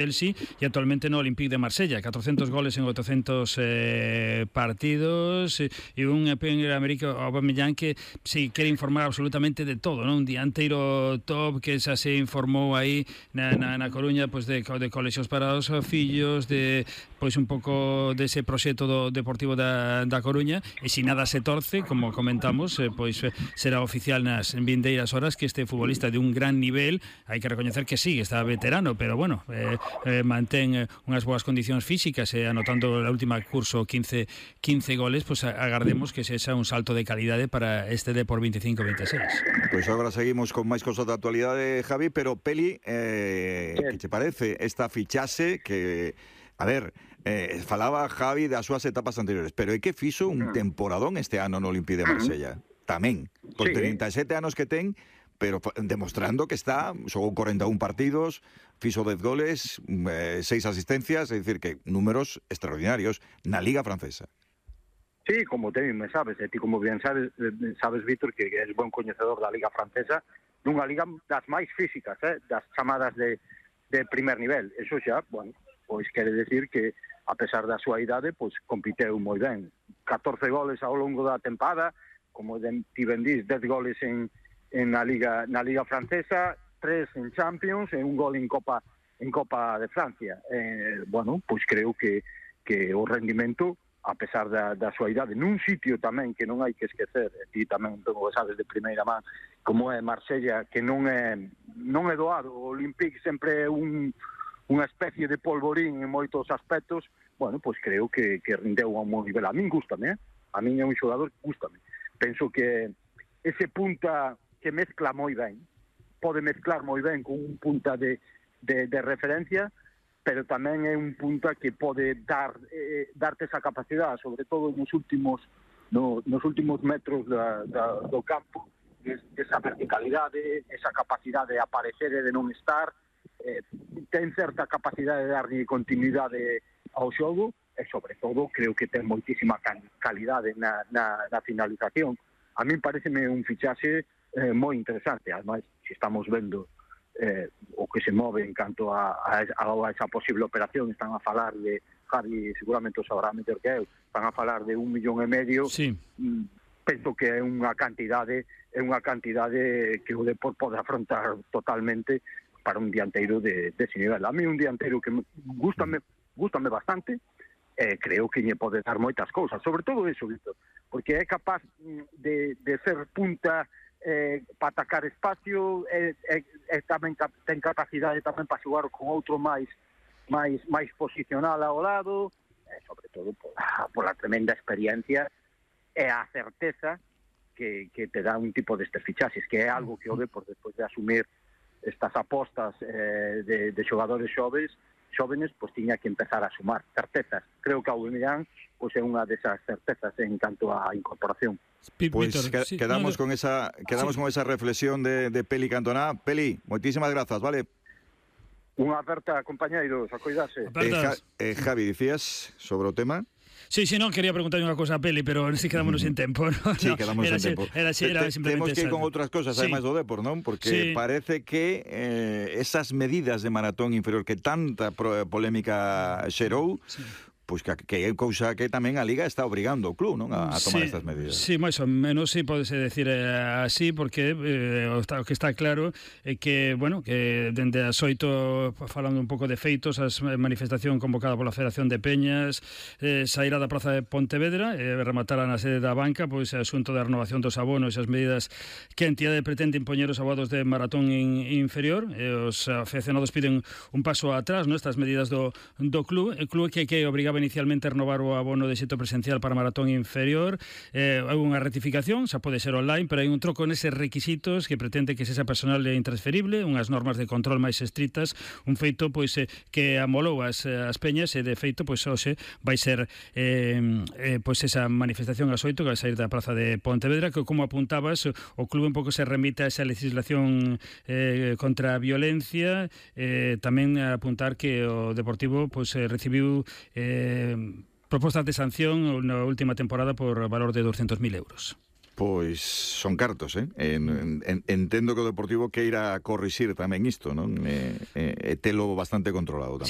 Chelsea e actualmente no Olympique de Marsella, 400 goles en 800 partidos, e un Premier América Aubameyang que si quere informar absolutamente de todo, non? Un dianteiro top que xa se informou aí na Coruña, pois de colexios para os fillos, de pois un pouco dese proxecto do Deportivo da Coruña, e se nada se torce, como comentamos, pois será oficial nas vindeiras horas que este futbolista de un gran nivel, hai que recoñecer que sí, está veterano, pero bueno, mantén unhas boas condicións físicas e anotando na última curso 15 goles, pues agardemos que sexa un salto de calidade para este Depor 25-26. Pois agora seguimos con máis cosas da actualidade, Javi, pero Peli, que te parece esta fichase que, a ver, falaba Javi das súas etapas anteriores, pero é que fixo un temporadón este ano no Olympique de Marsella, tamén, por 37 anos que ten, pero demostrando que está, xogou 41 partidos, fixo 10 goles, 6 asistencias, é dicir que números extraordinarios na Liga Francesa. Sí, como te me sabes, e ti como bien sabes, Víctor, que és bon coñecedor da Liga Francesa, nunha liga das máis físicas, das chamadas de primer nivel. Eso xa, bueno, pois quere decir que, a pesar da súa idade, pois compiteu moi ben. 14 goles ao longo da tempada, como ti ben dís, 10 goles na Liga Francesa, 3 en Champions e un gol en Copa de Francia. Bueno, pois creo que o rendimento, a pesar da súa idade, nun sitio tamén que non hai que esquecer, e ti tamén sabes de primeira man, como é Marsella, que non é doado. O Olympique sempre é unha especie de polvorín en moitos aspectos. Bueno, pois creo que rindeu a un bon nivel. A min gústame, a min é un xogador que gústame. Penso que ese punta que mezcla moi ben, pode mezclar moi ben con un punta de referencia, pero tamén é un punta que pode darte esa capacidade, sobre todo nos últimos metros do campo, esa verticalidade, esa capacidade de aparecer e de non estar, ten certa capacidade de darlle continuidade ao xogo, e sobre todo creo que ten moitísima calidade na finalización. A mí pareceme un fichaxe moi interesante. Ademais, se estamos vendo o que se move en canto a esa posible operación, están a falar de, Javi seguramente o sabrá mellor que eu, están a falar de 1,5 millón. Sí. Penso que é unha cantidade que o Depor pode afrontar totalmente para un dianteiro de ese nivel. A mí un dianteiro que gústame bastante, creo que lle pode dar moitas cousas, sobre todo eso, Víctor, porque é capaz de ser punta para atacar espacio, tamén ten capacidade tamén para xogar con outro máis posicional ao lado, sobre todo pola tremenda experiencia e a certeza que te dá un tipo destes fichaxes, que é algo que o Depor, despois de asumir estas apostas de xogadores xóvenes, pois tiña que empezar a sumar certezas. Creo que Aubameyang pois é unha desas certezas en canto á incorporación. Pois quedamos con esa reflexión de Peli Cantona. Peli, moitísimas grazas, vale? Unha aperta, compañeiros, a cuidarse. Javi, dicías sobre o tema? Sí, non, quería preguntar unha cosa a Peli, pero si quedámonos en tempo, ¿no? Sí, quedamos en tempo. Temos que ir con outras cosas, ademais do Depor, non? Porque parece que esas medidas de maratón inferior que tanta polémica xerou, pois que é cousa que tamén a Liga está obrigando o club, non, a tomar estas medidas. Sí, máis ou menos, sí, podese decir así, porque o que está claro é que, bueno, que dende as 8, falando un pouco de feitos, a manifestación convocada pola Federación de Peñas, sairá da Praza de Pontevedra, rematará na sede da banca, pois o asunto da renovación dos abonos, esas medidas que a entidade pretende impoñer os abonos de maratón inferior, os aficionados piden un paso atrás, non, estas medidas do club, el club que obrigaba inicialmente a renovar o abono de xeito presencial para maratón inferior, hai unha rectificación, xa pode ser online, pero hai un troco neses requisitos que pretende que sexa personal e intransferible, unhas normas de control máis estritas, un feito pois que amolou as peñas, e de feito pois hoxe vai ser pois esa manifestación ás 8 que vai sair da Praza de Pontevedra, que como apuntabas, o club un pouco se remite a esa legislación contra a violencia, tamén apuntar que o Deportivo pois recibiu propostas de sanción na última temporada por valor de 200.000 euros. Pois son cartos, entendo que o Deportivo queira corrixir tamén isto, non? E telo bastante controlado tamén.